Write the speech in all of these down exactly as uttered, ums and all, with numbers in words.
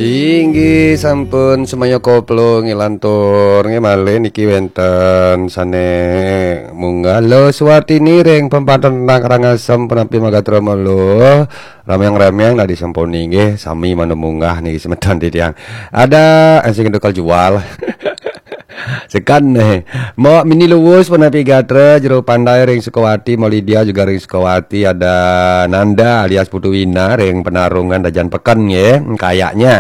Inggih sampun semaya koplo ngilantur nggih malih niki wenten sane munggah lo Suwartini ring pempatan Karangasem punapi magatra melo. Ramyang-ramyang nadi sampun inggih sami manu munggah niki semeton titiang. Ada sing tukal jual. Sekan nih. Mo Mini Luwus punapi gatra Jero Pandai ring Sukawati, Mo Lydia juga ring Sukawati, ada Nanda alias Putu Wina ring Penarungan Dajan Peken nggih. Kayaknya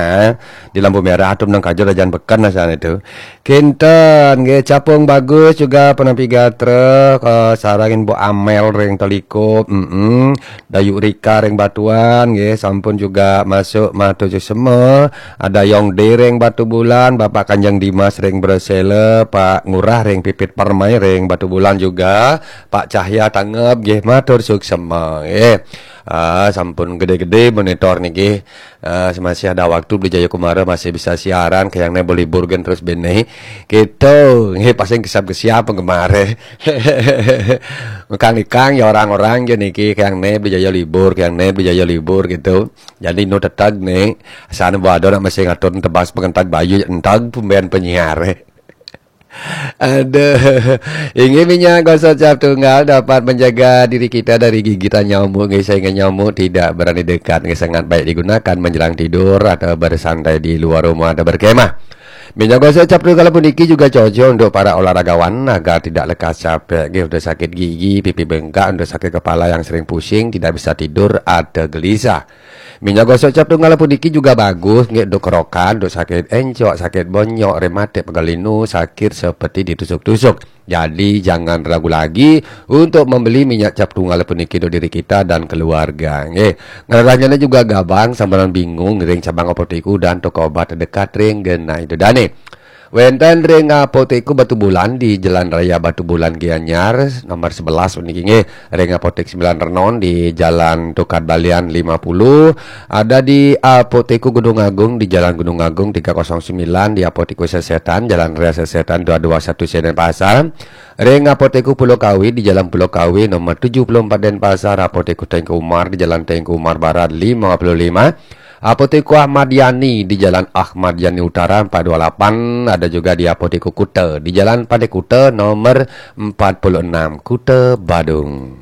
di lampu merah tuh menang kajo Dajan Peken asal itu. Kinten nggih Capung Bagus juga punapi gatra ke sarangin Bu Amel ring Teliko. Mm-mm. Dayu Rika ring Batuan nggih sampun juga masuk matur suksema. Ada Yong De ring Batubulan, Bapak Kanjeng Dimas ring Bresela, Pak Ngurah ring Pipit Permai ring Batubulan juga, Pak Cahya Tangep nggih matur suksema nggih. Ah, sampun gede-gede monitor niki. Ah, masih ada waktu Beli Jaya Kumara masih bisa siaran, kayaknya boleh burgen terus bene. Gitu. Nggih paling kesap-kesap penggemare. Ngekang-ngekang ya orang-orang ya niki kayaknya Beli Jaya libur, kayaknya Beli Jaya libur gitu. Jadi nu tetag nih, sana bado nak masih ngatur tebas pengentag bayu entag pembayan penyiar. Aduh, inggih minyak gosok cap tunggal dapat menjaga diri kita dari gigitan nyamuk, nggih, sehingga nyamuk tidak berani dekat, nggih, sangat baik digunakan menjelang tidur atau bersantai di luar rumah atau berkemah. Minyak gosok cap tunggal puniki juga cocok untuk para olahragawan agar tidak lekas capek, nggih, untuk sakit gigi, pipi bengkak, untuk sakit kepala yang sering pusing, tidak bisa tidur atau gelisah. Minyak gosok cap tunggal puniki juga bagus nggih untuk kerokan, untuk sakit encok, sakit bonyok, rematik, pegal linu, sakit seperti ditusuk-tusuk. Jadi jangan ragu lagi untuk membeli minyak cap tunggal puniki untuk diri kita dan keluarga. Nggih. Ngerasanya juga gabang sampeyan bingung ngiring cabang apotek dan toko obat terdekat ring genah itu dane. Wenten ring Apotek Batubulan di Jalan Raya Batubulan Gianyar nomor sebelas puniki nggih. Ring Apotek Sembilan Renon di Jalan Tukad Balian lima puluh, ada di Apotek Gunung Agung di Jalan Gunung Agung tiga kosong sembilan, di Apotek Sesetan Jalan Raya Sesetan dua dua satu Denpasar. Ring Apotek Pulau Kawi di Jalan Pulau Kawi nomor tujuh puluh empat Denpasar, Apotek Tengku Umar di Jalan Tengku Umar Barat lima puluh lima, Apotek Ahmad Yani di Jalan Ahmad Yani Utara empat dua lapan, ada juga di Apotek Kuta di Jalan Pantai Kuta nomor empat puluh enam, Kuta Badung.